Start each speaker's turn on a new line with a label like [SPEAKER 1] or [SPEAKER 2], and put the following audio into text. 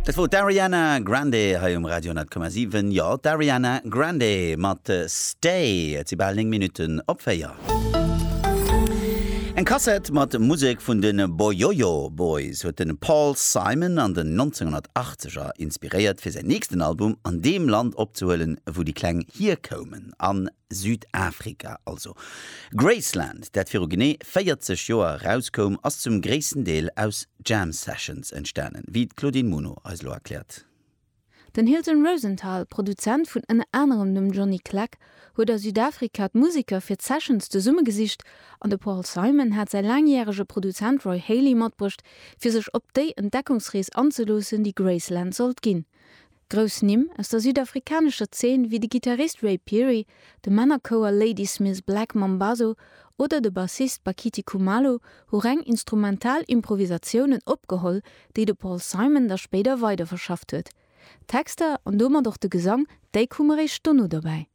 [SPEAKER 1] Dat wor d'Ariana Grande hei um Radio 10,7. Jo, d'Ariana Grande mat Stay. Et si bal 9 Minutten op 4. Eng Kassett mat Musek vun de Boyoyo Boys huet de Paul Simon an den 1980er inspiréiert, fir säin nächsten Album an deem Land opzehuelen, wou déi Kleng hierkoumen, a Südafrika also. Graceland, dat viru genee 40 Joer erauskoum, ass zum gréissten Deel aus Jam Sessions entstanen, wéi d'Claudine Muno eis elo erkläert.
[SPEAKER 2] Den Hilton Rosenthal, Produzent vun ënner anerem dem Johnny Clegg, huet a Südafrika d'Museker fir d'Sessions zesummegesicht an de Paul Simon hat säi laangjärege Produzent Roy Halee matbruecht, fir sech op déi Entdeckungsrees anzeloossen, déi Graceland sollt ginn. Grouss Nimm aus der südafrikanescher Zeen wéi de Gittarist Ray Phiri, de Männerchouer Ladysmith Black Mambazo oder de Bassist Bakithi Kumalo hu reng instrumental Improvisatiounen opgeholl, déi de Paul Simon da spéider weiderverschafft huet. D'Texter an domat och de Gesang, déi koume réischt dono dobäi.